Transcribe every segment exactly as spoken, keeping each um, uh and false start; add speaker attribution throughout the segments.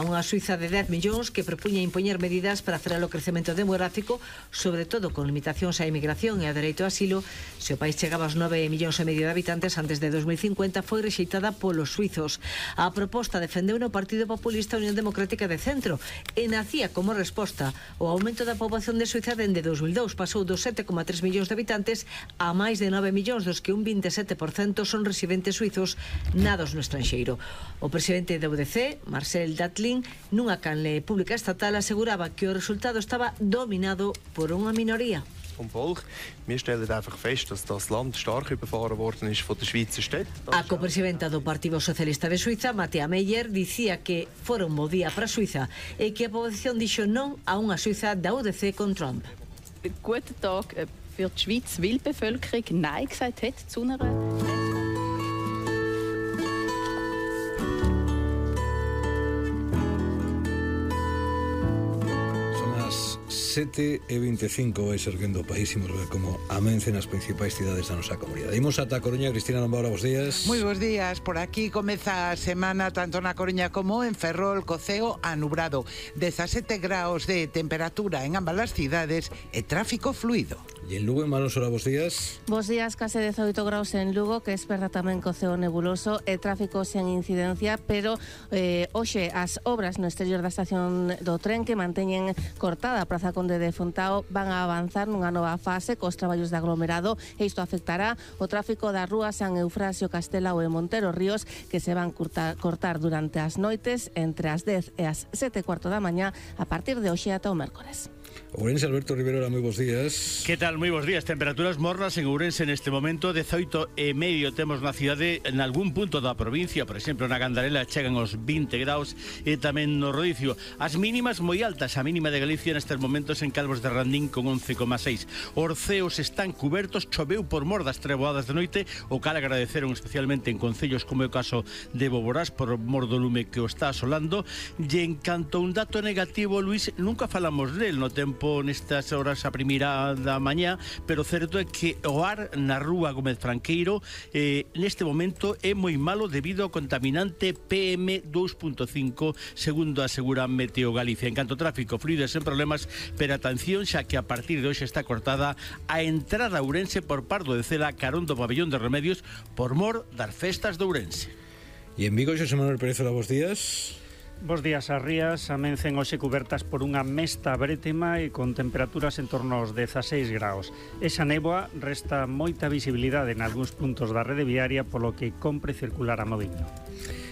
Speaker 1: Unha Suiza de dez millóns que propuña impoñer medidas para frear o crecemento demográfico, sobre todo con limitacións á emigración e a dereito a asilo. Se o país chegaba aos nove millóns e medio de habitantes antes de dos mil cincuenta, foi rexeitada polos suizos. A proposta defendeu no Partido Populista Unión Democrática de Centro e nacía como resposta ao aumento da poboación de Suiza dende dos mil dous. Pasou dos sete coma tres millóns de habitantes a máis de nove millóns, dos que un veintisiete por cento son residentes suizos nados no estranxeiro. O presidente da U D C, Marcel Datlin, nunha canle pública estatal, aseguraba que o resultado estaba dominado por unha minoría.
Speaker 2: Wir stellen einfach fest, dass das Land stark überfahren worden ist von der Schweizer Städte.
Speaker 1: A copresidenta do Partido Socialista de Suiza, Mattea Meyer, dicía que fora un bo día para Suiza e que a poboación dixo non a unha Suiza da U D C con Trump.
Speaker 3: Guten Tag für die Schweiz, weil die Bevölkerung Nein gesagt hat zu einer...
Speaker 4: sete e veinticinco vai serguendo o país. Imos ver como amencen as principais cidades da nosa comunidade. Imos ata a Coruña. Cristina Lombaura, bons días.
Speaker 5: Moi bons días. Por aquí comeza a semana tanto na Coruña como en Ferrol, co ceo anubrado. dezasete graus de temperatura en ambas as cidades e tráfico fluido.
Speaker 4: E en Lugo, en Malosora, bons días.
Speaker 6: Bos días, case dezoito graus en Lugo, que esperta tamén co ceo nebuloso e tráfico sen incidencia, pero eh, hoxe as obras no exterior da estación do tren que manteñen cortada a Praza Conde de Fontao van a avanzar nunha nova fase cos traballos de aglomerado e isto afectará o tráfico das rúas San Eufrasio, Castelao e Montero Ríos, que se van cortar, cortar durante as noites entre as dez e as sete e cuarto da mañá a partir de hoxe ata o mércores.
Speaker 4: Ourense, Alberto Rivero, moi bons días.
Speaker 7: Que tal? Moi bons días. Temperaturas mornas en Ourense neste momento, dezoito e medio temos na cidade. En algún punto da provincia, por exemplo na Gandarela, chegan os vinte graus e tamén no Rodicio. As mínimas moi altas, a mínima de Galicia nestes momentos en Calvos de Randín con once coma seis. Os ceos están cubertos, choveu por mor das treboadas de noite, o cal agradeceron especialmente en concellos como é o caso de Boborás por mor do lume que o está asolando. E en canto a un dato negativo, Luís, nunca falamos del no tempo nestas horas a primeira da mañá, pero certo é que o ar na rúa Gómez Franqueiro eh, neste momento é moi malo debido ao contaminante P M dos punto cinco, segundo asegura Meteo Galicia. En canto ao tráfico fluido sen problemas, pero atención, xa que a partir de hoxe está cortada a entrada a Ourense por Pardo de Cela, carón do pabellón de Remedios, por mor das festas de Ourense.
Speaker 4: E en Vigo, Xosé Manuel Pérez, hola, bons días.
Speaker 8: Bos días. As rías amencen hoxe cubertas por unha mesta brétema e con temperaturas en torno aos dezaseis graus. Esa néboa resta moita visibilidade en algúns puntos da rede viaria, polo que compre circular a moviño.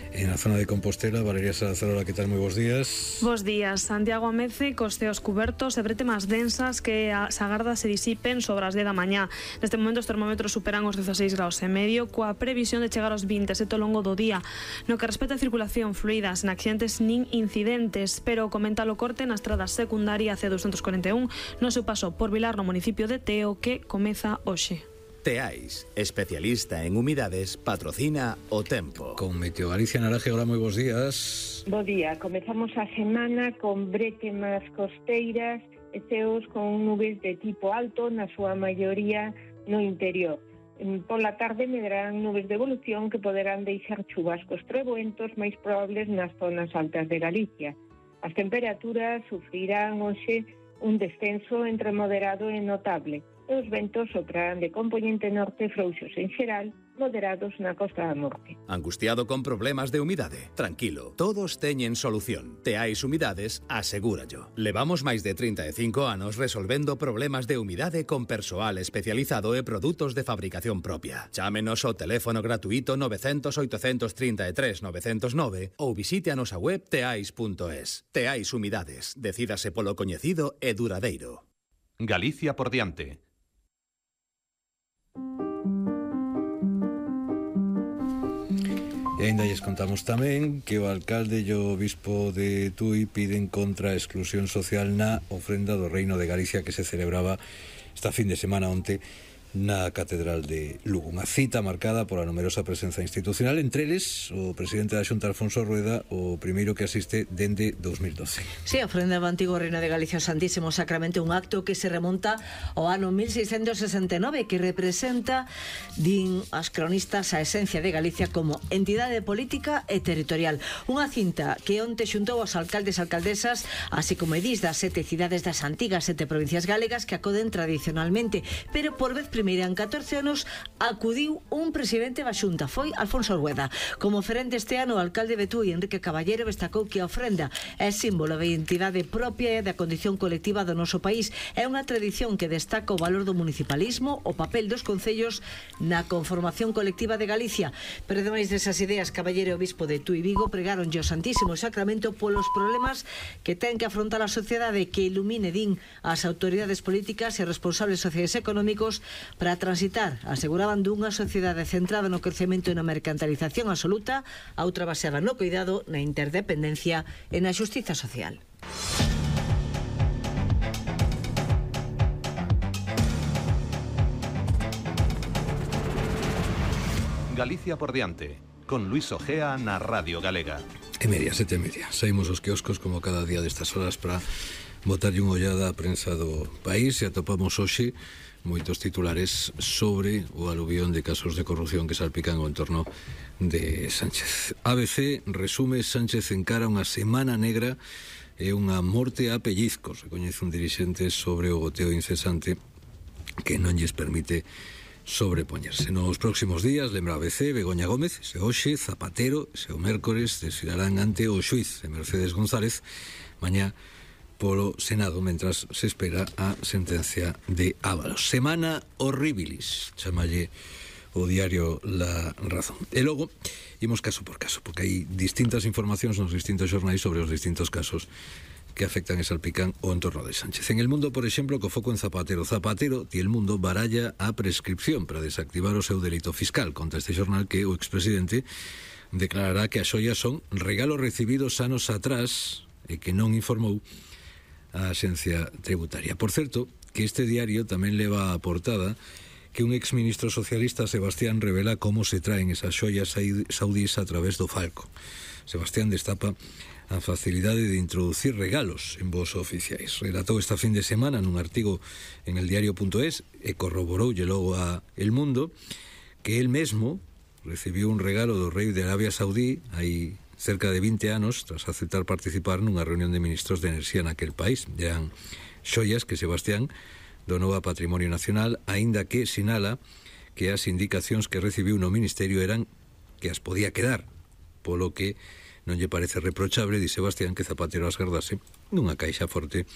Speaker 4: En a zona de Compostela, Valeria Salazar, que tal? Moi bons días.
Speaker 9: Bos días. Santiago amece cos ceos cubertos e bretemas densas que as agardas se disipen sobre as dez da mañá. Neste momento os termómetros superan os dezaseis graus e medio, coa previsión de chegar aos vinte e sete ao longo do día. No que respecta a circulación fluida, sen accidentes nin incidentes, pero comenta o corte na estrada secundaria C doscientos cuarenta e un no seu paso por Vilar, no municipio de Teo, que comeza hoxe.
Speaker 10: Teais, especialista en humidades, patrocina o tempo.
Speaker 4: Con Meteo Galicia, Naraje, hola, moi bons días.
Speaker 11: Bo día, comezamos a semana con bretemas costeiras e ceos con nubes de tipo alto, na súa maioría no interior. Pola tarde medrarán nubes de evolución que poderán deixar chubascos treboentos máis probables nas zonas altas de Galicia. As temperaturas sufrirán hoxe un descenso entre moderado e notable. E os ventos soprarán de componente norte frouxos en xeral, moderados na costa da norte.
Speaker 10: Angustiado con problemas de humidade? Tranquilo, todos teñen solución. Teais Humidades, asegúrallo. Levamos máis de trinta e cinco anos resolvendo problemas de humidade con persoal especializado e produtos de fabricación propia. Chámenos ao teléfono gratuito nove cero cero, oito tres tres, nove cero nove ou visite a nosa web teais punto es. Teais Humidades, decídase polo coñecido e duradeiro.
Speaker 12: Galicia por diante.
Speaker 4: E ainda lles contamos tamén que o alcalde e o bispo de Tui piden contra a exclusión social na ofrenda do Reino de Galicia que se celebraba esta fin de semana onte na Catedral de Lugo. Unha cita marcada pola numerosa presenza institucional, entre eles o presidente da Xunta, Alfonso Rueda, o primeiro que asiste dende dos mil doce.
Speaker 1: Sí, a ofrenda do antigo Reino de Galicia ao Santísimo Sacramento, un acto que se remonta ao ano mil seiscentos sesenta e nove, que representa, din as cronistas, a esencia de Galicia como entidade política e territorial. Unha cinta que onte xuntou aos alcaldes e alcaldesas, así como edís das sete cidades das antigas sete provincias galegas que acoden tradicionalmente, pero por vez primeira en catorce anos acudiu un presidente da Xunta, foi Alfonso Rueda. Como oferente este ano, o alcalde Betúi, Enrique Caballero, destacou que a ofrenda é símbolo da identidade propia e da condición colectiva do noso país. É unha tradición que destaca o valor do municipalismo, o papel dos concellos na conformación colectiva de Galicia. Pero ademais desas ideas, Caballero e o bispo de Tui Vigo pregaron ao Santísimo Sacramento polos problemas que ten que afrontar a sociedade, que ilumine, din, as autoridades políticas e responsables sociais e económicos para transitar, aseguraban, dunha sociedade centrada no crecemento e na mercantilización absoluta a outra baseada no cuidado, na interdependencia e na xustiza social.
Speaker 12: Galicia por diante, con Luis Ojea na Radio Galega.
Speaker 4: E media, sete e media. Saímos os quioscos como cada día destas horas para botarlle unha ollada á prensa do país e atopamos hoxe moitos titulares sobre o aluvión de casos de corrupción que salpican o entorno de Sánchez. A B C resume: Sánchez encara unha semana negra e unha morte a pellizcos. Recoñece un dirixente sobre o goteo incesante que non lles permite sobrepoñerse. Nos próximos días, lembra a B C, Begoña Gómez, se hoxe, Zapatero, se o mércores, desfilarán ante o xuiz de Mercedes González, mañá polo Senado, mentras se espera a sentencia de Ábalos. Semana horribilis, chamalle o diario La Razón. E logo, imos caso por caso, porque hai distintas informacións nos distintos xornais sobre os distintos casos que afectan e salpican o entorno de Sánchez. En El Mundo, por exemplo, co foco en Zapatero. Zapatero, ti El Mundo, baralla a prescripción para desactivar o seu delito fiscal. Conta este xornal que o expresidente declarará que as xoias son regalos recibidos anos atrás e que non informou a Axencia Tributaria. Por certo, que este diario tamén leva a portada que un exministro socialista, Sebastián, revela como se traen esas xoias saudís a través do Falco. Sebastián destapa a facilidade de introducir regalos en voos oficiais. Relatou esta fin de semana nun artigo en el diario punto es e corroboroulle logo a El Mundo que el mesmo recibiu un regalo do rei de Arabia Saudí hai cerca de vinte anos, tras aceptar participar nunha reunión de ministros de enerxía naquel país. Eran xoias que Sebastián donou a Patrimonio Nacional, aínda que sinala que as indicacións que recibiu no Ministerio eran que as podía quedar, polo que non lle parece reprochable, di Sebastián, que Zapatero as gardase nunha caixa forte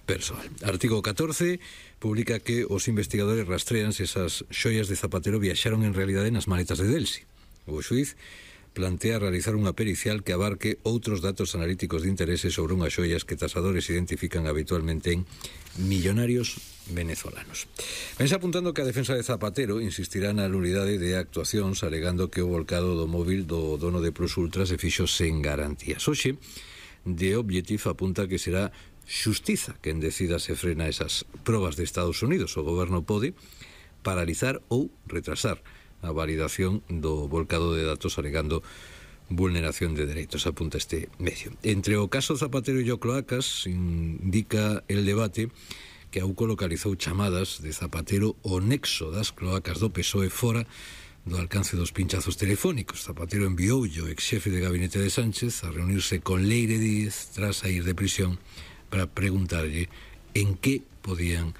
Speaker 4: persoal. Artigo catorce publica que os investigadores rastrean se esas xoias de Zapatero viaxaron en realidade nas maletas de Delsi. O xuiz plantea realizar unha pericial que abarque outros datos analíticos de interese sobre unhas xoias que tasadores identifican habitualmente en millonarios venezolanos. Vense apuntando que a defensa de Zapatero insistirá na nulidade de actuacións, alegando que o volcado do móvil do dono de Plus Ultra se fixo sen garantías. Hoxe, The Objective apunta que será xustiza quen decida se frena esas probas de Estados Unidos. O goberno pode paralizar ou retrasar a validación do volcado de datos alegando vulneración de dereitos, apunta este medio. Entre o caso Zapatero e o Cloacas, indica El Debate que a U C O localizou chamadas de Zapatero o nexo das cloacas do P S O E fora do alcance dos pinchazos telefónicos. Zapatero enviou o ex-xefe de gabinete de Sánchez a reunirse con Leire Díez tras sair de prisión para preguntarlle en que podían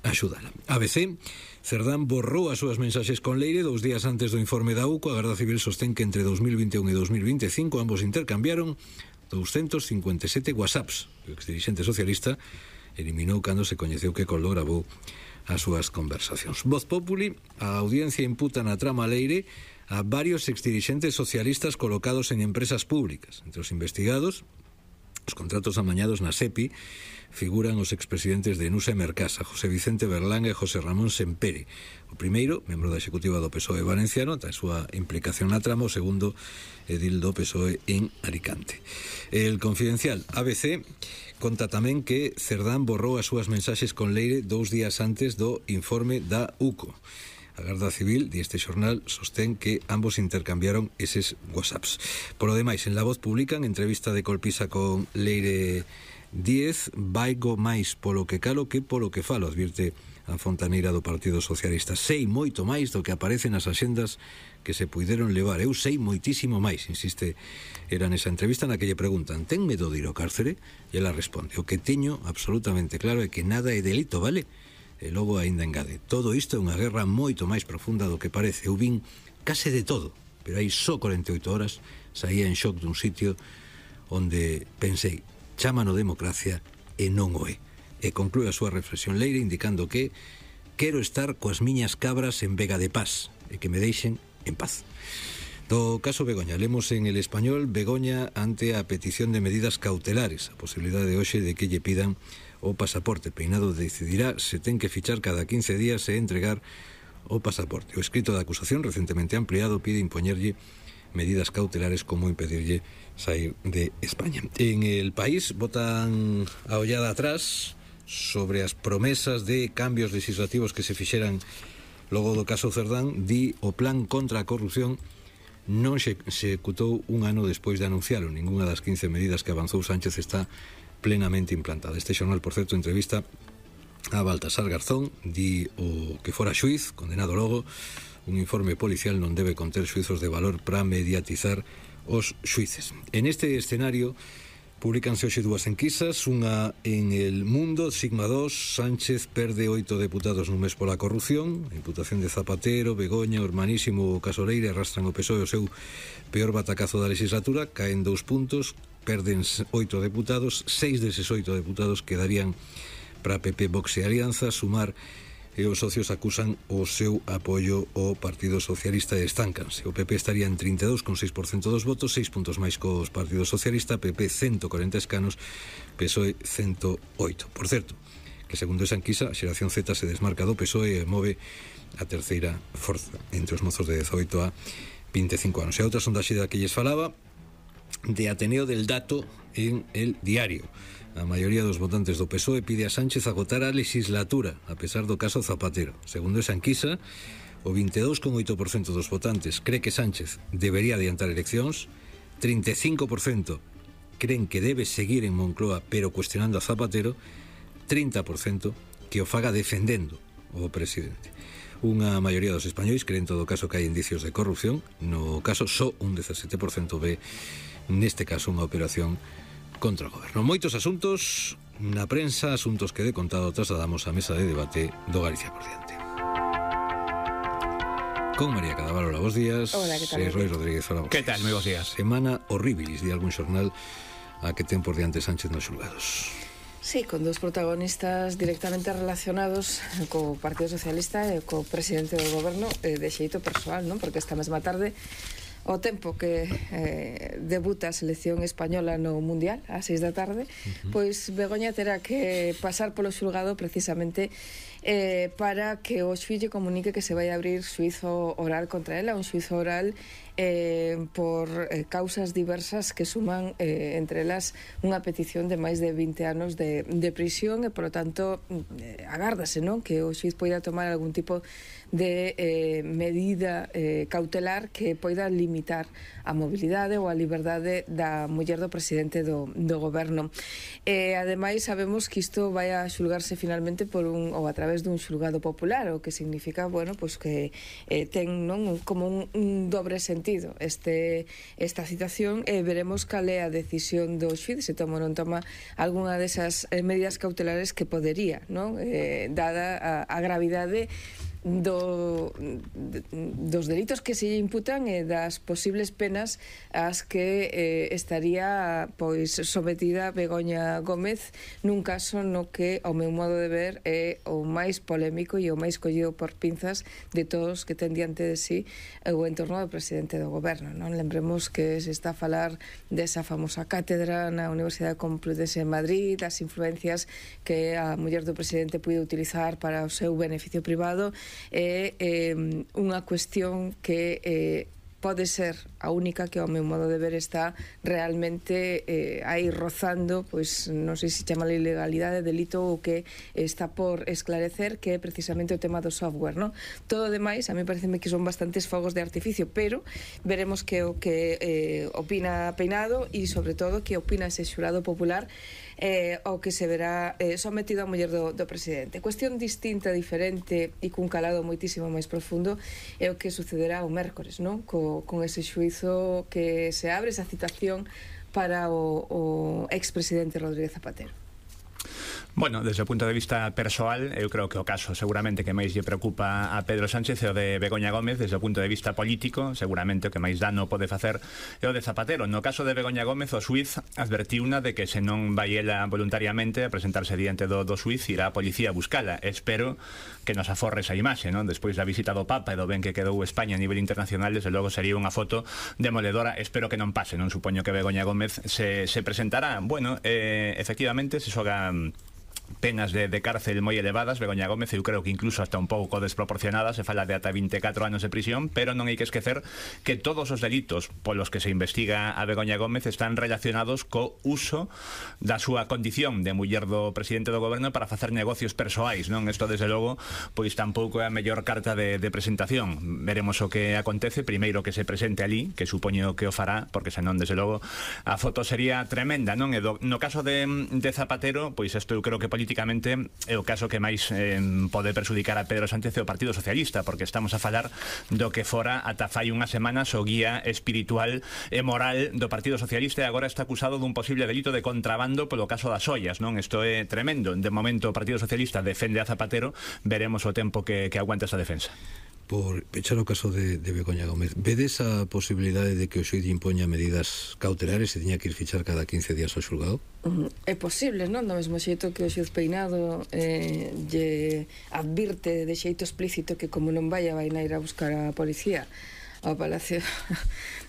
Speaker 4: axudala. A B C, Cerdán borrou as súas mensaxes con Leire dous días antes do informe da U C O. A Garda Civil sostén que entre dos mil vinte e un e dos mil vinte e cinco ambos intercambiaron doscientos cincuenta e sete whatsapps. O exdirixente socialista eliminou cando se coñeceu que Coldo gravou as súas conversacións. Voz Populi, a audiencia imputa na trama Leire a varios exdirixentes socialistas colocados en empresas públicas. Entre os investigados, os contratos amañados na SEPI, figuran os expresidentes de Nusa e Mercasa, José Vicente Berlanga e José Ramón Sempere. O primeiro, membro da executiva do P S O E valenciano, ta a súa implicación na trama. O segundo, edil do P S O E en Alicante. El Confidencial, A B C, conta tamén que Cerdán borrou as súas mensaxes con Leire dous días antes do informe da U C O. A Garda Civil, di este xornal, sostén que ambos intercambiaron eses whatsapps. Por lo demais, en La Voz publican entrevista de Colpisa con Leire Díez, vaigo máis polo que calo que polo que falo, advirte a fontaneira do Partido Socialista. Sei moito máis do que aparece nas axendas que se puideron levar. Eu sei moitísimo máis, insiste era nesa entrevista na que lle preguntan: ten medo de ir ao cárcere? E ela responde: o que teño absolutamente claro é que nada é delito, vale? E logo aínda engade: todo isto é unha guerra moito máis profunda do que parece. Eu vin case de todo, pero aí só corenta e oito horas saía en shock dun sitio onde pensei, chámano democracia e non o é. E conclúe a súa reflexión Leire indicando que quero estar coas miñas cabras en Vega de Paz e que me deixen en paz. Do caso Begoña, lemos en El Español: Begoña ante a petición de medidas cautelares, a posibilidade de hoxe de que lle pidan o pasaporte. Peinado decidirá se ten que fichar cada quince días e entregar o pasaporte. O escrito de acusación, recentemente ampliado, pide impoñerlle medidas cautelares como impedirlle sair de España. En El País botan a ollada atrás sobre as promesas de cambios legislativos que se fixeran logo do caso Cerdán. Di o plan contra a corrupción non se executou un ano despois de anuncialo. Ninguna das quince medidas que avanzou Sánchez está plenamente implantada. Este xornal, por certo, entrevista a Baltasar Garzón, di o que fora xuiz, condenado logo. Un informe policial non debe conter xuizos de valor para mediatizar os xuices. En este escenario públicanse hoxe dúas enquisas, unha en El Mundo, Sigma dos: Sánchez perde oito deputados nun mes pola corrupción. A imputación de Zapatero, Begoña, Urmanísimo o caso Leire arrastran o P S O E o seu peor batacazo da legislatura. Caen dous puntos, perden oito deputados, seis deses oito deputados quedarían para P P, Vox e Alianza. Sumar e os socios acusan o seu apoio ao Partido Socialista e estancanse. O P P estaría en trinta e dous coma seis por cento dos votos, seis puntos máis cos Partido Socialista, P P ciento corenta escanos, P S O E ciento oito. Por certo, que segundo esa enquisa, a xeración Z se desmarca do P S O E e move a terceira forza entre os mozos de dezoito a vinte e cinco anos. E a outra sondaxe da que lles falaba, de Ateneo del Dato en El Diario. A maioría dos votantes do P S O E pide a Sánchez agotar a legislatura, a pesar do caso Zapatero. Segundo esa enquisa, o vinte e dous coma oito por cento dos votantes cree que Sánchez debería adiantar eleccións, trinta e cinco por cento creen que debe seguir en Moncloa pero cuestionando a Zapatero, trinta por cento que o faga defendendo o presidente. Unha maioría dos españois creen en todo caso que hai indicios de corrupción. No caso, só un dezasete por cento ve neste caso unha operación contra o goberno. Moitos asuntos na prensa, asuntos que de contado trasladamos á mesa de debate do Galicia por diante. Con María Cadavalo, hola, bos días.
Speaker 13: Hola, que tal?
Speaker 4: E Roy Rodríguez, hola, bos
Speaker 13: Que tal, moi bos días.
Speaker 4: Semana horribilis, de algún xornal a que ten por diante Sánchez nos xulgados.
Speaker 13: Sí, con dos protagonistas directamente relacionados co Partido Socialista e co presidente do goberno eh, de xeito persoal, non? Porque esta mesma tarde, o tempo que eh, debuta a selección española no Mundial, ás seis da tarde, uh-huh. pois Begoña terá que pasar polo xulgado precisamente eh, para que o xuíz comunique que se vai abrir xuizo oral contra ela, un xuizo oral eh, por eh, causas diversas que suman eh, entre elas unha petición de máis de vinte anos de, de prisión e, por lo tanto, eh, agárdase, non? Que o xuiz poida tomar algún tipo de eh, medida eh, cautelar que poida limitar a mobilidade ou a liberdade da muller do presidente do, do goberno. E, ademais, sabemos que isto vai a xulgarse finalmente por un, ou a través dun xulgado popular, o que significa, bueno, pues que eh, ten, non, como un, un dobre sentido este, esta situación, e veremos cal é a decisión do xuíz, se toma ou non toma algunha desas eh, medidas cautelares que podería, non? Eh, dada a, a gravidade do, dos delitos que se imputan e das posibles penas ás que eh, estaría pois sometida Begoña Gómez nun caso no que, ao meu modo de ver, é o máis polémico e o máis collido por pinzas de todos que ten diante de sí o entorno do presidente do goberno, non? Lembremos que se está a falar desa famosa cátedra na Universidade Complutense de Madrid, das influencias que a muller do presidente puide utilizar para o seu beneficio privado. É eh, unha cuestión que eh, pode ser a única que ao meu modo de ver está realmente eh, aí rozando, pois non sei se chama ilegalidade, delito ou que está por esclarecer, que é precisamente o tema do software, non? Todo o demais, a mí pareceme que son bastantes fogos de artificio, pero veremos que o que eh, opina Peinado e sobre todo que opina ese xurado popular eh, o que se verá eh, sometido a muller do, do presidente. Cuestión distinta, diferente e cun calado moitísimo máis profundo é o que sucederá o mércores, non? Co, con ese xuizo que se abre, esa citación para o, o expresidente Rodríguez Zapatero.
Speaker 14: Bueno, desde o punto de vista persoal, eu creo que o caso seguramente que máis lle preocupa a Pedro Sánchez é o de Begoña Gómez. Desde o punto de vista político, seguramente o que máis dano pode facer é o de Zapatero. No caso de Begoña Gómez, o xuiz advertiuna de que se non vai ela voluntariamente a presentarse diante do, do xuiz, irá a policía a buscala. Espero que nos aforre esa imaxe, non? Despois da visita do Papa e do ben que quedou España a nivel internacional, desde logo sería unha foto demoledora. Espero que non pase, non supoño que Begoña Gómez se, se presentará. Bueno, eh, efectivamente, se xoga penas de, de cárcel moi elevadas. Begoña Gómez, eu creo que incluso hasta un pouco desproporcionadas, se fala de ata vinte e catro anos de prisión, pero non hai que esquecer que todos os delitos polos que se investiga a Begoña Gómez están relacionados co uso da súa condición de muller do presidente do goberno para facer negocios persoais, non? Isto, desde logo, pois tampouco é a mellor carta de, de presentación. Veremos o que acontece, primeiro que se presente ali, que supoño que o fará, porque senón, desde logo, a foto sería tremenda, non? E do, no caso de, de Zapatero, pois isto eu creo que políticamente é o caso que máis eh, pode perxudicar a Pedro Sánchez e o Partido Socialista, porque estamos a falar do que fora ata fai unhas semanas o guía espiritual e moral do Partido Socialista, e agora está acusado dun posible delito de contrabando polo caso das ollas, non? Isto é tremendo. De momento o Partido Socialista defende a Zapatero, veremos o tempo que, que aguanta esa defensa.
Speaker 4: Por pechar o caso de, de Begoña Gómez, vedes a posibilidade de que o xuíz impoña medidas cautelares e tiña que ir fichar cada quince días ao xulgado?
Speaker 13: É posible, non? Do mesmo xeito que o xuíz Peinado eh, lle advirte de xeito explícito que como non vaya vai ir a buscar a policía ao Palacio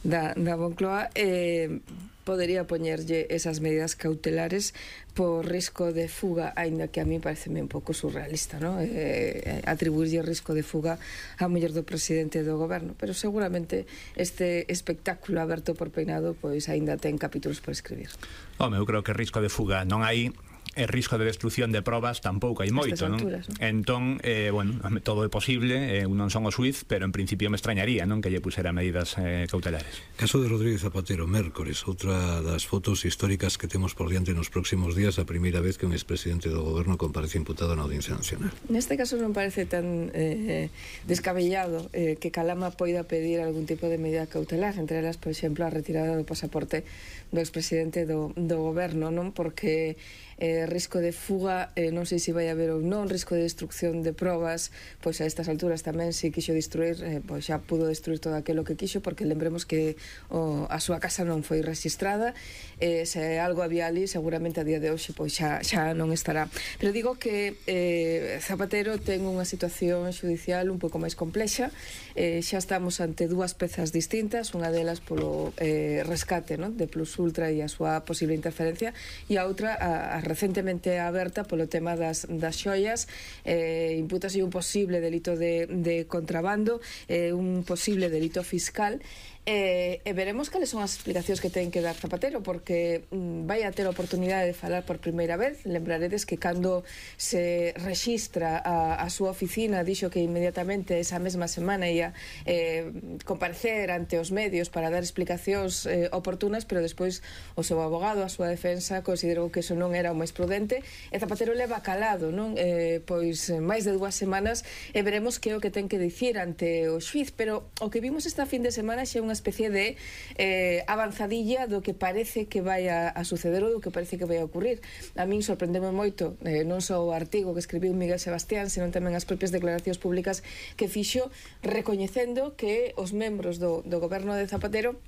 Speaker 13: da, da Moncloa, eh, podería poñerlle esas medidas cautelares por risco de fuga, aínda que a mí pareceme un pouco surrealista, non? Eh, atribuirlle risco de fuga á muller do presidente do goberno, pero seguramente este espectáculo aberto por Peinado pois aínda ten capítulos por escribir.
Speaker 14: Home, eu creo que risco de fuga non hai, e risco de destrucción de probas tampouco hai moito, non?
Speaker 13: Alturas, non?
Speaker 14: Entón, eh, bueno, todo é posible, eh, non son o xuiz, pero en principio me extrañaría, non, que lle pusera medidas eh, cautelares.
Speaker 4: Caso de Rodríguez Zapatero, mércores, outra das fotos históricas que temos por diante nos próximos días, a primeira vez que un expresidente do goberno comparece imputado na Audiencia Nacional.
Speaker 13: Neste caso non parece tan eh, descabellado eh, que Calama poida pedir algún tipo de medida cautelar, entre elas, por exemplo, a retirada do pasaporte do expresidente do, do goberno, non? Porque eh, risco de fuga, eh, non sei se vai haber ou non, risco de destrucción de probas, pois a estas alturas tamén se quixo destruir, eh, pois xa pudo destruir todo aquilo que quixo, porque lembremos que o, a súa casa non foi registrada, eh, se algo había ali, seguramente a día de hoxe pois xa, xa non estará. Pero digo que eh, Zapatero ten unha situación xudicial un pouco máis complexa, eh, xa estamos ante dúas pezas distintas, unha delas polo eh, rescate, non? De Plus Ultra e a súa posible interferencia, e a outra a, a recentemente aberta polo tema das, das xoias, eh, impútase un posible delito de, de contrabando, eh, un posible delito fiscal, E, e veremos cales son as explicacións que ten que dar Zapatero, porque mm, vai a ter a oportunidade de falar por primeira vez. Lembraredes que cando se rexistra a, a súa oficina dixo que inmediatamente esa mesma semana ia eh, comparecer ante os medios para dar explicacións eh, oportunas, pero despois o seu abogado, a súa defensa, considerou que eso non era o máis prudente, e Zapatero leva calado, non? Eh, pois máis de dúas semanas, e veremos que é o que ten que dicir ante o xuiz. Pero o que vimos esta fin de semana xa é unha especie de eh, avanzadilla do que parece que vai a, a suceder ou do que parece que vai a ocurrir. A min sorprendeme moito, eh, non só o artigo que escribiu Miguel Sebastián, senón tamén as propias declaracións públicas que fixo, recoñecendo que os membros do, do goberno de Zapatero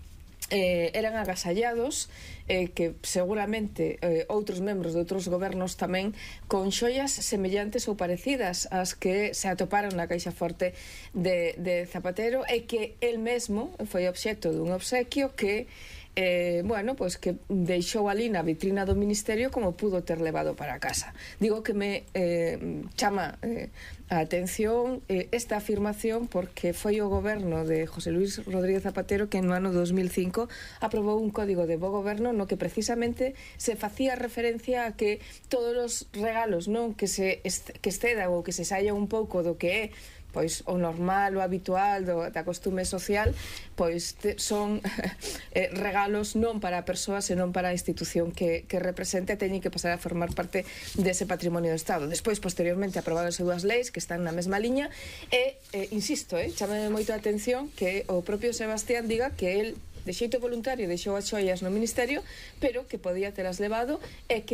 Speaker 13: Eh, eran agasallados, eh, que seguramente eh, outros membros de outros gobernos tamén, con xoias semellantes ou parecidas ás que se atoparon na caixa forte de, de Zapatero, e que el mesmo foi obxecto dun obsequio que eh, bueno, pois que deixou ali na vitrina do Ministerio como pudo ter levado para casa. Digo que me eh, chama eh, a atención eh, esta afirmación porque foi o goberno de José Luis Rodríguez Zapatero que no ano dos mil cinco aprobou un código de bo goberno no que precisamente se facía referencia a que todos os regalos non que se que exceda ou que se saia un pouco do que é pois o normal, o habitual do, da costume social, pois te, son eh, regalos non para a persoa, senón para a institución que, que represente e teñen que pasar a formar parte dese patrimonio do Estado. Despois, posteriormente, aprobadas dúas leis que están na mesma liña e, eh, insisto, eh, chamame moito a atención que o propio Sebastián diga que el de xeito voluntario deixou as xoias no Ministerio, pero que podía telas levado e que